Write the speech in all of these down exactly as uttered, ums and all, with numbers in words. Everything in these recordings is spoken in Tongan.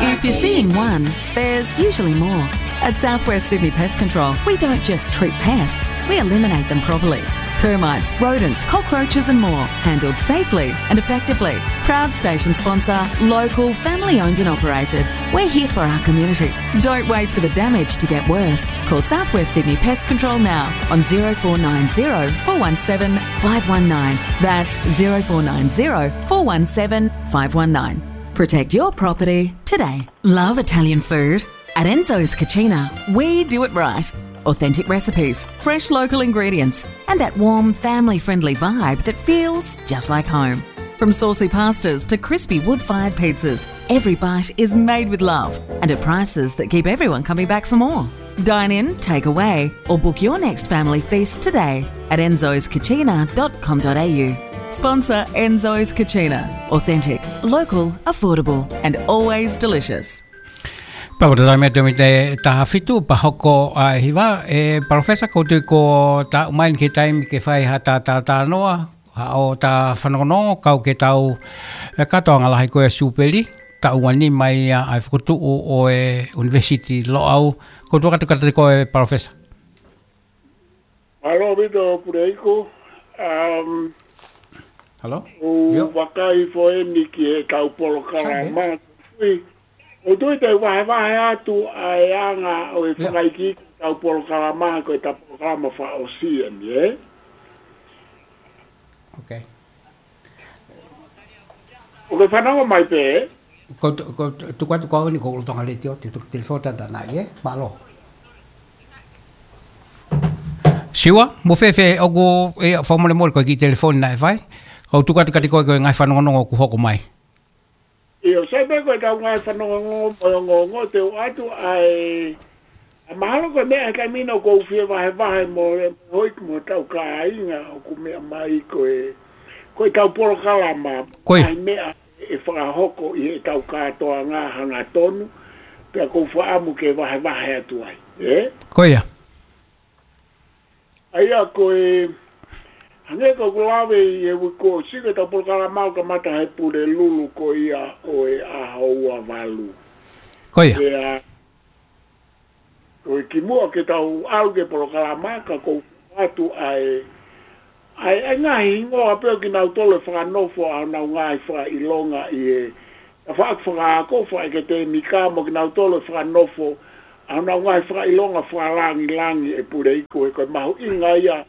If you're seeing one, there's usually more. At Southwest Sydney Pest Control, we don't just treat pests, we eliminate them properly. Termites, rodents, cockroaches and more, handled safely and effectively. Proud station sponsor, local, family owned and operated. We're here for our community. Don't wait for the damage to get worse. Call Southwest Sydney Pest Control now on zero four nine zero four one seven five one nine. That's zero four nine zero four one seven five one nine. Protect your property today. Love Italian food? At Enzo's Cucina, we do it right. Authentic recipes, fresh local ingredients, and that warm, family friendly vibe that feels just like home. From saucy pastas to crispy wood fired pizzas, every bite is made with love and at prices that keep everyone coming back for more. Dine in, take away, or book your next family feast today at enzo's cucina dot com dot a u. Sponsor Enzo's Cucina. Authentic, local, affordable, and always delicious. Pea ko e taimi atu mei he taha fitu, pea hoko ʻa e hiva, ʻe Palōfesa, ʻoku ou tui ko e taʻu mai ni ki he taimi ke fai ha tā, tā, tā noa, ha ʻo e tā fanongonongo, kau ki he tau, ʻe kātoanga lahi ko e Siupeli, taʻu ua nima ia ʻa e fokotuʻu ʻo e ʻUnivēsiti Loʻau, ʻoku ou tuku atu kiate koe Palōfesa. Mālō ʻaupito Puleiku. Um, Hello? ʻOku ou Yo. vakai foki eni ki he kau polokalama. Sai, Ui, ʻoku ou tui te u vahevahe atu ʻa e anga ʻo e Yo. fakaikiiki kau polokalama, ko e ta polokalama fakaʻosi eni, ē? Okay. ʻOku ke fanongo mai pē, ē? Ko, ko, tuku atu ko eni ko Lolotonga Letiō, te tuku telefoni tata nai, ē? Mālō. Siua, mo fēfē ʻoku, ʻe, fakamolemole ko e kiʻi telefoni naʻe fai. ʻOku ou tuku atu kiate koe ko e ngaahi fanongonongo ʻoku hoko mai. ʻIo, sai pē ko e tau ngaahi fanongonongo, mo e ongoongo, te u ʻoatu ʻa e, ʻa mahalo ko e meʻa he taimi ni ʻoku ou fie vahevahe mo e, mo e houʻeiki mo e tau kāinga ʻoku meʻa mai ko e, ko e tau polokalama, Ko ia. ʻa e meʻa ʻe fakahoko ʻi he tau kātoanga hangatonu, pea ʻoku ou fakaʻamu ke vahevahe atu ai, ē? Ko ia. ʻA ia ko e, hangē ko ʻeku lave ʻi he uike kuo ʻosi, ko e tau polokalama ʻoku kamata he Pulelulu ko ia ʻo e ʻaho ua valu. Ko ia. Pea, ko e kimuʻa ke tau ʻalu ki he polokalama, ka ʻoku ou ʻoatu ʻa e, ʻa e, ʻa e ngaahi hingoa pē ʻo kinautolu ʻe fakanofo ʻa honau ngaahi fakaʻilonga ʻi he tafaʻaki fakaako, fakaʻeketēmika mo kinautolu ʻe fakanofo ʻa honau ngaahi fakaʻilonga fakalāngilangi ʻe Puleiku, he ko e mahuʻinga ia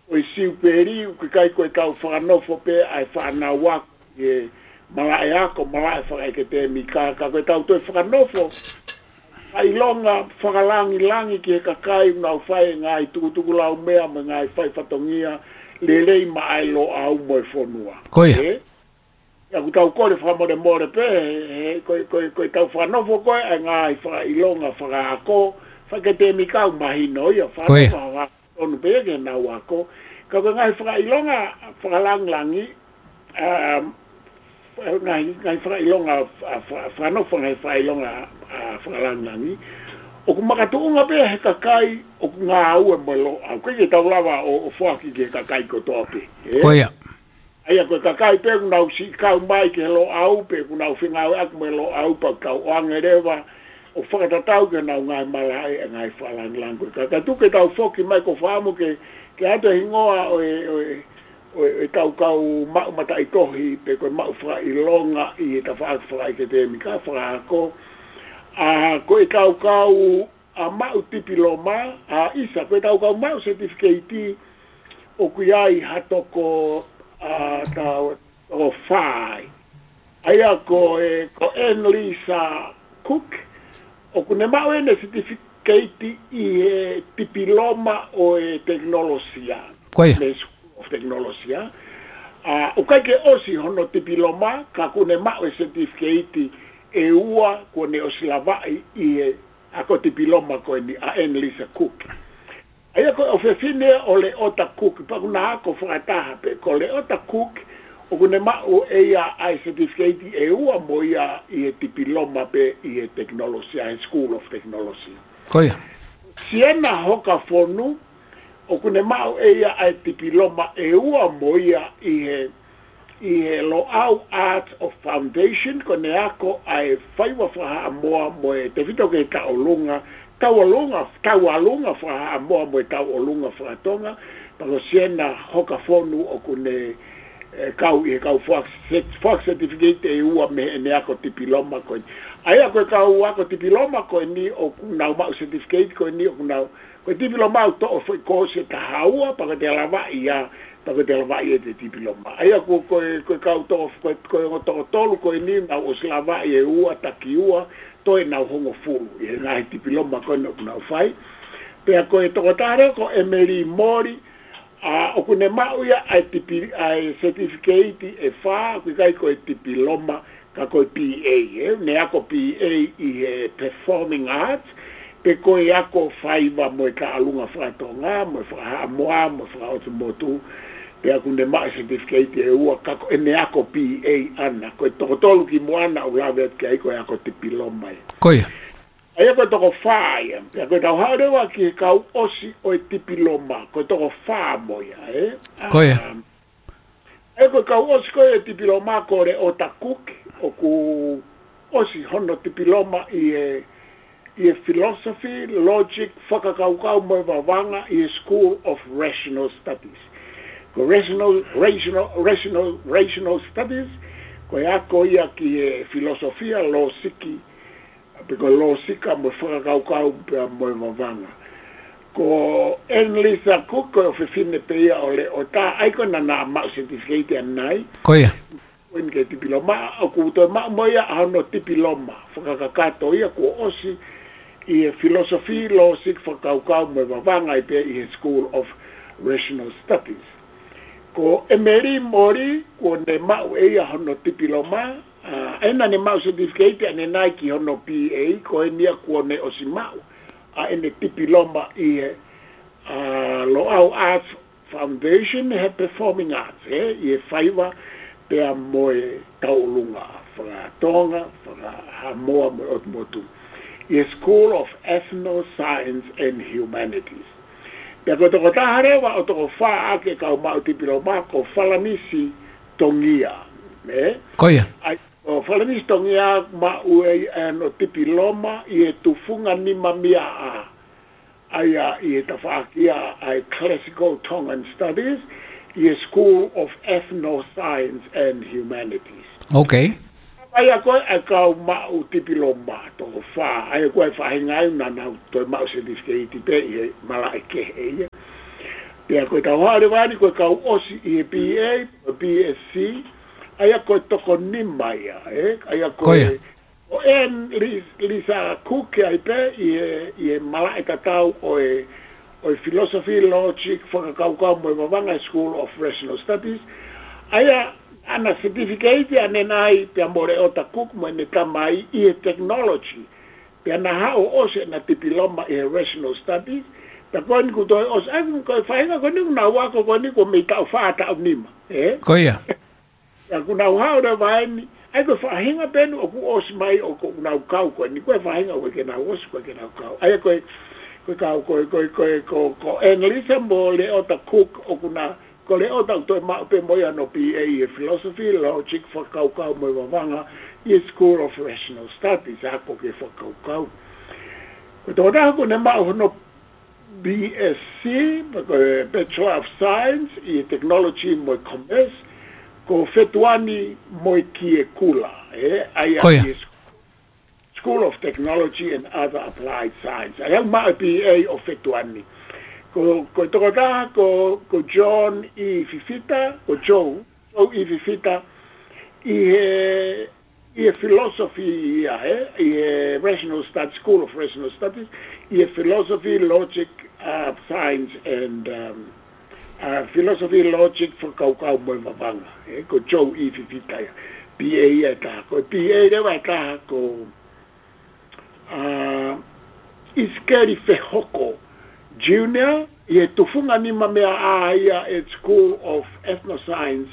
ʻo e Siupeli, ʻoku ʻikai ko e tau fakanofo pē ʻa e fānau ako ʻi he malaʻe ako, malaʻe fakaʻeketēmika, ka ko e tau toe fakanofo ʻa e ʻilonga fakalāngilangi ki he kakai ʻoku nau fai e ngaahi tukutukulaumea mo e ngaahi fai fatongia lelei maʻa e Loʻau mo e fonua. Ko ia. Ē? ʻA ia ʻoku tau kole fakamolemole pē, he, he, ko e, ko e, ko e tau fakanofo ko ē ʻa e ngaahi fakaʻilonga fakaako, fakaʻeketēmika ʻoku mahino ia, Ko ia. fakanofo faka- tonu pē ia ke nau ako. Ka ko e ngaahi fakaʻilonga fakalāngilangi, um, ngaahi, ngaahi fakaʻilonga, a, fa-, fakanofo ngaahi fakaʻilonga, a, fakalāngilangi, ʻoku makatuʻunga pē he kakai ʻoku ngāue mo e Loʻau. ʻOku ʻikai ke tau lava ʻo, ʻo foaki ki he kakai kotoa pē, ē? Ko ia. ʻA ia ko e kakai pē ʻoku nau siʻi kau mai ki he Loʻau, pe ʻoku nau fengāueʻaki mo e Loʻau, pea ʻoku tau ʻoange leva ʻo fakatatau ki honau ngaahi malaʻe ʻa e ngaahi fakalāngilangi ko ē. Ka, ka tuku ke tau foki mai, ʻoku ou fakaʻamu ke, ke ʻoatu e hingoa ʻo e, ʻo e, ʻo e, ʻo e tau kau maʻu mataʻitohi, pe ko e maʻu fakaʻilonga ʻi he tafaʻaki fakaʻeketēmika, fakaako. ʻA, ko e tau kau ʻa maʻu tipiloma, ʻa ʻisa, ko e tau kau maʻu certificate, ʻoku ʻi ai ha toko, ʻa, tau, toko fā. ʻA ia ko e, ko Anne Lisa Cook, ʻoku ne maʻu ʻene certificate ʻi he tipiloma ʻo e tekinolosia. Ko ia. Mei he School of Technology. ʻA, ʻoku ʻikai ke ʻosi hono tipiloma, ka ʻoku ne maʻu e certificate ʻe ua kuo ne ʻosi lavaʻi ʻi he ako tipiloma ko eni ʻa Anne Lisa Cook. ʻA ia ko e ʻofefine ʻo Leota Cook, pea ʻoku na ako fakataha pē, ko Leota Cook, ʻoku ne maʻu ʻe ia ʻa e certificate ʻe ua mo ia ʻi he tipiloma pē ʻi he tekinolosia, he School of Technology. Ko ia. Siena Hokafonu, ʻoku ne maʻu ʻe ia ʻa e tipiloma ʻe ua mo ia ʻi he, ʻi he Loʻau Arts of Foundation, ko ʻene ako ʻa e faiva fakahaʻamoa mo e tefito ki he tauʻolunga, tauʻolunga, tauʻolunga fakahaʻamoa mo e tauʻolunga fakatonga, pea ko Siena Hokafonu ʻoku ne, ē, kau ʻi he kau foaki set-, foaki certificate ʻe ua mei heʻene ako tipiloma ko eni. ʻA ia ko e kau ako tipiloma ko eni ʻoku nau maʻu certificate ko eni ʻoku nau, ko e tipiloma ʻoku toʻo foʻi kosi ʻe taha ua, pea ko e te lavaʻi ia, pea ko e te lavaʻi ʻe te tipiloma. ʻA ia ko, ko e, ko e kau toko, ko e, ko e ongo toko tolu ko eni nau ʻosi lavaʻi ʻe ua, taki ua, toe nau hongofulu ʻi he ngaahi tipiloma ko eni ʻoku nau fai. Pea ko e tokotaha leva ko Emily Mori, ʻa, ʻoku ne maʻu ia ʻa e tipi-, ʻa e certificate ʻe fā, ʻoku ʻikai ko e tipiloma, ka ko e B A, ē, ne ako B A ʻi he Performing Arts, pe ko e ako faiva mo e tauʻolunga fakatonga, mo e fakahaʻamoa, mo e fakaʻotumotu, pea ʻoku ne maʻu certificate ʻe ua, ka ko ʻene ako B A ʻana, ko e toko tolu kimuʻa naʻa ku lave atu ki ai ko e ako tipiloma ia. Ko ia. ʻA ia ko e toko fā ia, pea ko e tau haʻu leva ki he kau ʻosi ʻo e tipiloma, ko e toko fā mo ia, ē? Ko ia. Um, ʻA ia ko e kau ʻosi ko ē ʻo e tipiloma ko Leota Cook, ʻoku ʻosi hono tipiloma ʻi he, ʻi he philosophy, logic, fakakaukau mo e vavanga ʻi he School of Rational Studies. Ko Rational, Rational, Rational, Rational Studies, ko e ako ia ki he filosofia, lōsiki, pe ko e lōsika mo e fakakaukau pea mo e vavanga. Ko Annalisa Cook, ko e ʻofefine pē ia ʻo Leota, ʻa ia ko ena naʻa maʻu certificate ʻanenai. Ko ia. Ko eni ki he tipiloma, ʻoku toe maʻu mo ia ʻa hono tipiloma fakakakato ia kuo ʻosi ʻi he philosophy, logic, fakakaukau mo e vavanga ʻi pē ʻi he School of Rational Studies. Ko Emily Mori, kuo ne maʻu ʻe ia hono tipiloma, ʻa, ʻa ena ne maʻu certificate ʻanenai ki hono B A, ko eni ia kuo ne ʻosi maʻu ʻa ʻene tipiloma ʻi he, ʻa, Loʻau Arts Foundation he Performing Arts, ē, ʻi he faiva pea mo e tauʻolunga fakatonga, fakahaʻamoa mo e ʻotumotu, ʻi he School of Ethno Science and Humanities. Pea ko e tokotaha leva ʻo e toko fā ʻa e kau maʻu tipiloma ko Falanisi Tongia, ē? Ko ia. ʻA ia, ko Falanisi Tongia maʻu ʻe ia hono tipiloma ʻi he tufunga nima mia ʻa, ʻa ia ʻi he tafaʻaki ʻa e Classical Tongan Studies, ʻi he School of Ethno Science and Humanities. Ok. ʻA ia ko e kau maʻu tipiloma toko fā, ʻa ia ko e faʻahinga ia naʻa nau toe maʻu certificate pē ʻi he malaʻe kehe ia. Pea ko e tau haʻu leva eni ko e kau ʻosi ʻi he B A, ko e B S C, ʻa ia ko e toko nima ia, ē? ʻA ia ko Ko ia. e, ko Annalisa Cook ʻi ai pē ʻi he, ʻi he malaʻe tatau ʻo e, ʻo e philosophy, logic, fakakaukau mo e vavanga, School of Rational Studies. ʻA ia, ʻa ena certificate ʻanenai pea mo Leota Cook mo ʻene tamai ʻi he technology. Pea na haʻu ʻo ʻosi ʻena tipiloma ʻi he Rational Studies. Pea ko eni kuo toe ʻosi, ʻa ia ko e faʻahinga ko eni kuo nau ako ko eni kuo mei taʻu fā taʻu nima, ē? Ko ia. Pea kuo nau haʻu leva eni, ʻa ia ko e faʻahinga pē eni ʻoku ʻosi mai ʻoku nau kau ko eni, ko e faʻahinga ʻoku ʻikai ke nau ʻosi, ʻoku ʻikai ke nau kau. ʻA ia ko e, ko e kau, ko e, ko e, ko e, ko, ko Annalisa mo Leota Cook ʻoku na, ko Leota ʻoku toe maʻu pē mo ia hono B A ʻi he philosophy, logic, fakakaukau mo e vavanga ʻi he School of Rational Studies, ako ki he fakakaukau. Ko e tokotaha kuo ne maʻu hono B S C, pe ko e Bachelor of Science, ʻi he Technology mo e Commerce, ko Fetuani Moekiekula, ē, ʻa ia Ko ia. ʻi he School of Technology and Other Applied Science. ʻA ia ʻoku maʻu e B A ʻo Fetuani. Ko, ko e tokotaha, ko, ko John E. Fifita, ko Joe, Joe E. Fifita, ʻi he, ʻi he philosophy ia, ē, ʻi he Rational Studies, School of Rational Studies, ʻi he philosophy, logic, uh, science and, um, uh, philosophy, logic, fakakaukau mo e vavanga, ē, ko Joe E. Fifita ia. B A ia ʻe taha, ko e B A leva ʻe taha ko, uh, ʻIsikeli Fehoko Junior, ʻi he tufunga nima mea ʻa ia ʻi he School of Ethnoscience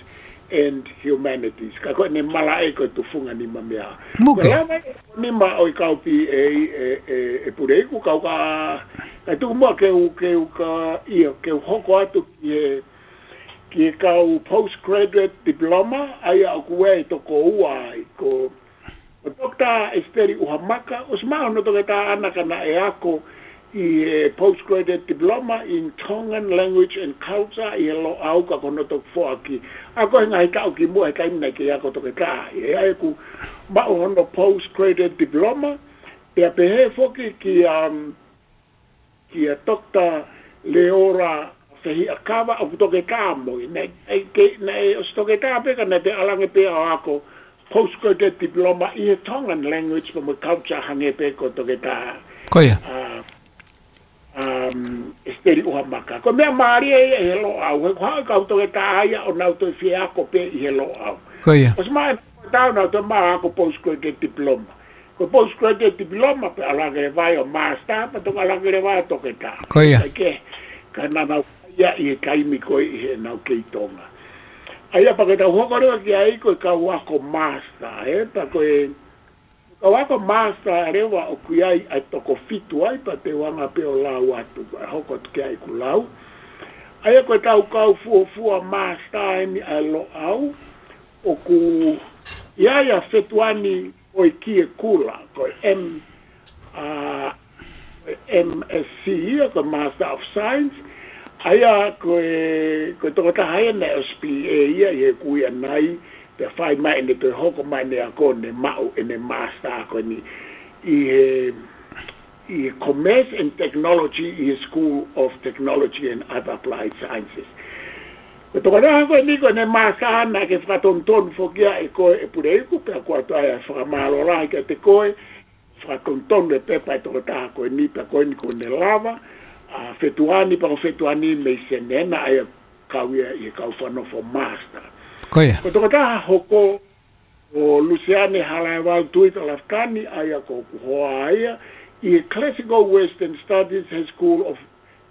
and Humanities. Ka ko ʻene malaʻe ko e tufunga nima mea. Muke. Ko e lava ʻe nima ʻo e kau B A ʻe, ʻe, ʻe Puleiku kau ka, ka tuku muʻa ke u, ke u ka, ʻio, ke u hoko atu ki he, ki he kau postgraduate diploma, ʻa ia ʻoku ʻi ai e toko ua ai, ko, ko Doctor Esiteli ʻUhamaka, ʻosi maʻu hono toketā ʻana ka naʻe ako ʻi he postgraduate diploma in Tongan language and culture ʻi he Loʻau ka ko hono toki foaki. Ako he ngaahi taʻu kimuʻa he taimi naʻe kei ako toketā. ʻA ia ʻoku maʻu hono postgraduate diploma, pea pehē foki ki, um, kia Doctor Leora Fehiʻakava ʻoku toketā mo ia. Naʻe, naʻe ke-, naʻe ʻosi toketā pē ka naʻe pē ʻalu ange pē ʻo ako postgraduate diploma ʻi he Tongan language pea mo e culture hangē pē ko Toketā. Ko ia. ʻA, um, Esiteli ʻUhamaka. Ko e meʻa mālie ia ʻi he Loʻau, he ko e hā e kau toketā ia ʻoku nau toe fie ako pē ʻi he Loʻau. Ko ia. ʻOsi maʻu e tau nau toe maʻu ako postgraduate diploma. Ko e postgraduate diploma pea ʻalu ange leva ai ʻo master, pea toki ʻalu ange leva ai ʻo toketā. Ko ia. Kae kehe, ka naʻa nau ia ʻi he taimi ko ē ʻi heʻenau kei Tonga. ʻA ia pea ke tau hoko leva ki ai ko e kau ako master, ē, pea ko e kau ako master leva ʻoku ʻi ai ʻa e toko fitu ai, pea te u anga pē ʻo lau atu, pea hoko atu ki ai ʻeku lau. ʻA ia ko e tau kau fuofua master eni ʻa e Loʻau, ʻoku ʻi ai ʻa Fetuani ʻOikie Kula, ko e M, ʻa, M S C ia, ko e Master of Science. ʻA ia ko e, ko e tokotaha ia naʻe ʻosi B A ia ʻi he kui ʻanai, pea fai mai ʻene toe hoko mai ʻene ako ʻo ne maʻu ʻene master ko eni ʻi he, ʻi he Commerce and Technology ʻi he School of Technology and Other Applied Sciences. Ko e tokotaha ko eni ko ʻene master naʻe fakatonutonu foki ia ʻe koe ʻe Puleiku, pea ko atu ai ʻa e fakamālō lahi kiate koe, fakatonutonu e pepa ʻa e tokotaha ko eni, pea ko eni kuo ne lava, ʻa Fetuani, pea ko Fetuani mei Senena, ʻa ia kau ia ʻi he kau fakanofo master. Ko ia. Ko e tokotaha hoko ko Luseane Halaevalu Tuita Lafitani, ʻa ia ko hoku hoa ia, ʻi he Classical Western Studies he School of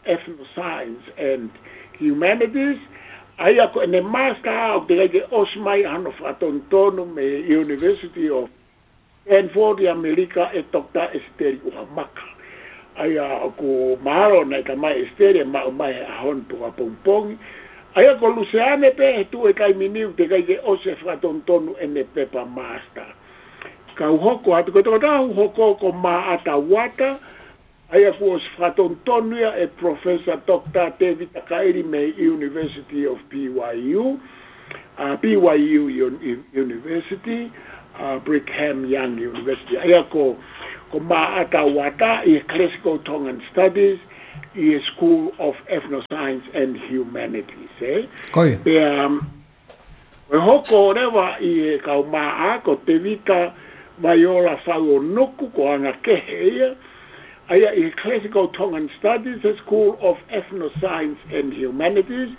Ethnoscience and Humanities, ʻa ia ko ʻene master ʻoku teʻeki ai ke ʻosi mai ʻa hono fakatonutonu mei he University of Stanford ʻi ʻAmelika ʻe Doctor Esiteli ʻUhamaka. ʻA ia ʻoku mahalo naʻe ʻikai mai Esiteli ʻe maʻu mai he ʻaho ni pe ko ʻapongipongi. ʻA ia ko Luseane pē he tuʻu he taimi ni ʻoku teʻeki ai ke ʻosi e fakatonutonu ʻene pepa master. Kau hoko atu ko e tokotaha ʻoku hoko ko Maʻata Uata, ʻa ia kuo ʻosi fakatonutonu ia ʻe Professor Doctor Tevita Kaʻili mei he University of B Y U, ʻa, B Y U Un-, University, ʻa, Brigham Young University. ʻA ia ko, ko Maʻata Uata ʻi he Classical Tongan Studies ʻi he School of Ethnoscience and Humanities, ē? Ko ia. Pea, um, ko e hoko leva ʻi he kau maʻa ko Tevita Vaiola Fauonuku, ko anga kehe ia, ʻa ia ʻi he Classical Tongan Studies, he School of Ethnoscience and Humanities,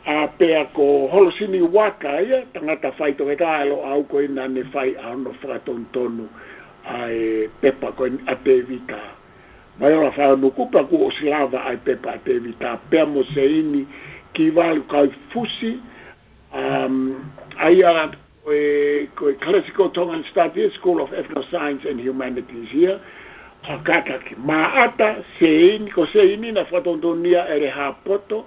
ʻa, pea ko Holosini Uata ia, tangata faitoketā ʻa e Loʻau ko ia naʻa ne fai ʻa hono fakatonutonu ʻa e pepa ko eni ʻa Tevita Vaiola Fauonuku, pea kuo ʻosi lava ʻa e pepa ʻa Tevita, pea mo Seini Kivalu Kaufusi, um, ʻa ia ko e, ko e Classical Tongan Studies, School of Ethnoscience and Humanities ia, ʻa, kātaki Maʻata, Seini, ko Seini naʻe fakatonutonu ia ʻe Lehāpoto,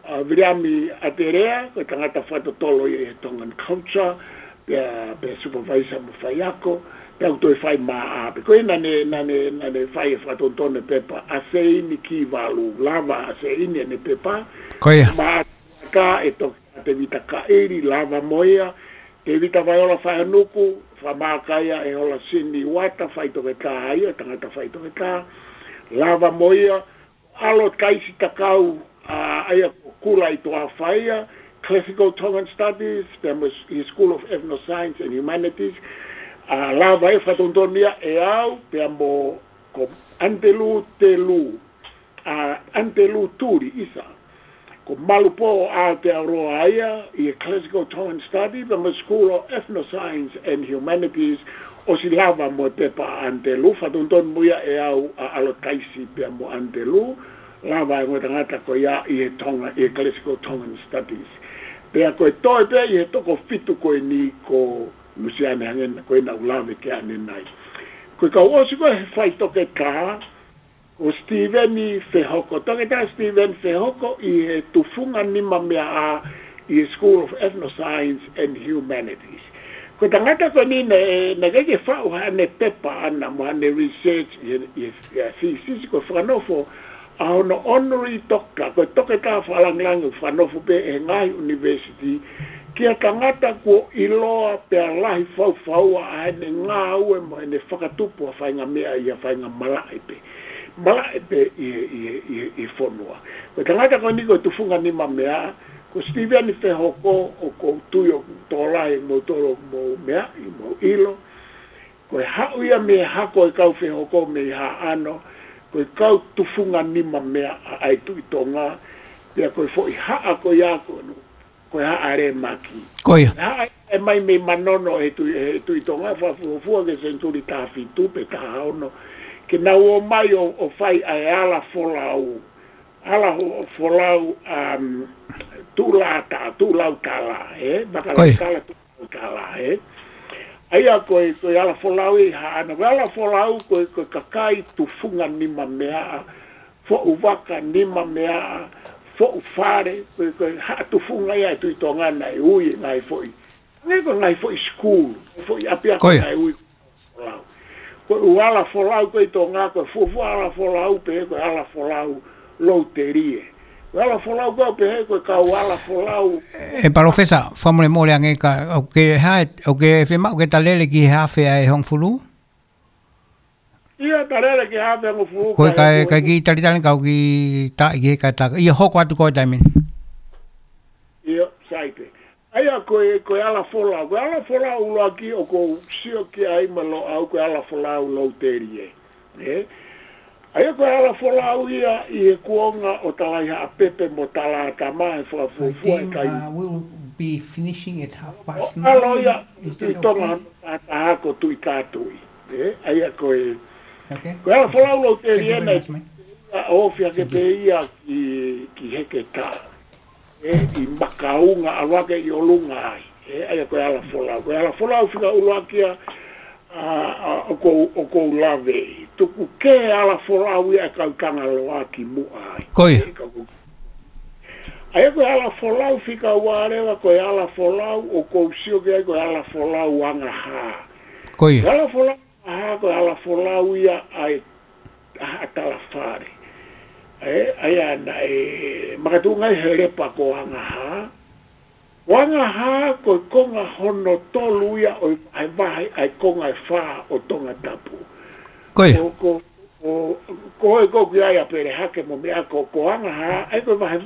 ʻa, Viliami ʻAtelea, ko e tangata fakatotolo ia ʻi he Tongan culture, pea, pea supervisor mo faiako, pea ʻoku toe fai maʻa pē. Ko ia naʻa ne, naʻa ne, naʻa ne fai e fakatonutonu e pepa ʻa Seini Kivalu, lava ʻa Seini ʻene pepa. Ko ia. Maʻata ʻe Toketā Tevita Kaʻili, lava mo ia. Tevita Vaiola Fauonuku, fakamaʻa ia ʻe Holosini Uata, faitoketā ia, tangata faitoketā, lava mo ia. ʻAlo Taisi Takau, ʻa, ʻa ia ko Kula ʻi Toafa ia, Classical Tongan Studies, pea mo ʻi he School of Ethnoscience and Humanities, ʻa, lava e fakatonutonu ia ʻe au, pea mo ko Antelū Telū, ʻa, Antelū Tuli ʻisa, ko Malupō Aotearoa ia, ʻi he Classical Tongan Study, pea mo School of Ethnoscience and Humanities, ʻosi lava mo e pepa ʻa Antelū, fakatonutonu mo ia ʻe au ʻa ʻAlo Taisi pea mo Antelū, lava e ongo tangata ko ia ʻi he Tonga, ʻi he Classical Tongan Studies. Pea ko e toe pē ʻi he toko fitu ko eni ko Luseane hangē ko ia naʻa ku lave ki ai ʻanenai. Ko e kau ʻosi ko ē he faitoketā, ko Steven Fehoko, Toketā Steven Fehoko ʻi he tufunga nima meʻa ʻa ʻi he School of Ethnoscience and Humanities. Ko e tangata ko eni naʻe, naʻe ʻikai ke faʻu haʻane pepa ʻana mo haʻane research ʻi he, ʻi he, ʻi he thesis, ko e fakanofo ʻa hono honorary doctor, ko e toketā fakalāngilangi ʻoku fakanofo pē ʻe he ngaahi university, ki ha tangata kuo ʻiloa pea lahi faufaua ʻa ʻene ngāue mo ʻene fakatupu ʻa e faʻahinga meʻa ʻi ha faʻahinga malaʻe pē. Malaʻe pē ʻi he, ʻi he, ʻi he, ʻi he fonua. Ko e tangata ko eni ko e tufunga nima meʻa, ko Sitiveni Fehoko, ʻoku ou tui ʻoku tokolahi ʻe moutolu ʻoku mou meaʻi, mou ʻilo. Ko e haʻu ia mei he hako ʻo e kau Fehoko mei Haʻano, ko e kau tufunga nima meʻa ʻa e Tuʻi Tonga, pea ko e foʻi haʻa ko ia ko, ko e haʻa lēmaki. Ko ia. Haʻa ʻe mai mei Manono ʻe he Tuʻi, ʻe he Tuʻi Tonga, fakafuofua ki he senituli taha fitu pe taha ono, ke nau ō mai ʻo, ʻo fai ʻa e ala folau. Ala ho-, folau, um, tuʻulata-, tuʻulautala, ē? Ko ia. Vakalautala tuʻulautala, ē? ʻA ia ko e, ko e ala folau ʻi Haʻano. Ko e ala folau ko e, ko e kakai tufunga nima meʻa, foʻu vaka nima meʻa, foʻu fale, ko e, ko e haʻa tufunga ia ʻa e Tuʻi Tonga naʻe ui e ngaahi foʻi. Hangē ko e ngaahi foʻi school, foʻi ʻapiako. Ko ia. Naʻe ui folau. Ko e ʻū ala folau ko ē ʻi Tonga, ko e fuofua ala folau pē, ko e ala folau Loutelie. Ko e ala folau ko ē pehē, ko e kau ala folau. ʻE Palōfesa, fakamolemole ange ka, ʻoku ke hā, ʻoku ke fiemaʻu ke ta lele ki he hafe ʻa e hongofulu? ʻIo, ta lele ki he hafe hongofulu. Ko e ka, ka kiʻi talitali ka ʻoku kiʻi taʻi ki he ka ta, ʻio hoko atu ko e taimi ni. ʻIo, sai pē. ʻA ia ko e, ko e ala folau. Ko e ala folau ʻuluaki ʻoku ou sio ki ai mo Loʻau ko e ala folau Loutelie. Ē? ʻA ia ko e ala folau ia ʻi he kuonga ʻo Talaihaʻapepe mo Talaatama he fakafuofua e kai. Alo ia, Tuʻi Tonga, taha ko Tuʻi Kātui. Ē? ʻA ia ko e, ko e ala folau Loutelie naʻe ʻofi hake pē ia ki, ki Heketā. Ē, ʻi Makaunga, ʻalu hake ʻi ʻolunga ai. Ē, ʻa ia ko e ala folau. Ko e ala folau fika ʻuluaki ia, ʻa, ʻa, ʻoku ou, ʻoku ou lave. Tuku kehe ala folau ia ʻa e kau Tangaloa ki muʻa ai. Ko ia. Ē, ka ko-, ʻa ia ko e ala folau fika ua leva, ko e ala folau ʻoku ou sio ki ai ko e ala folau Angahā. Ko ia. Ko e ala folau Angahā ko e ala folau ia ʻa e ʻa Talafale. Ē, ʻa ia naʻe makatuʻunga ai he lepa ko Angahā. Ko Angahā ko e konga hono tolu ia ʻo e vahe, ʻa e konga ʻe fā ʻo Tongatapu. Ko ia. Ko, ko, ko, ko e ko ki ai ʻa Pelehake mo meʻa ko, ko Angahā, ʻa ia ko e vahe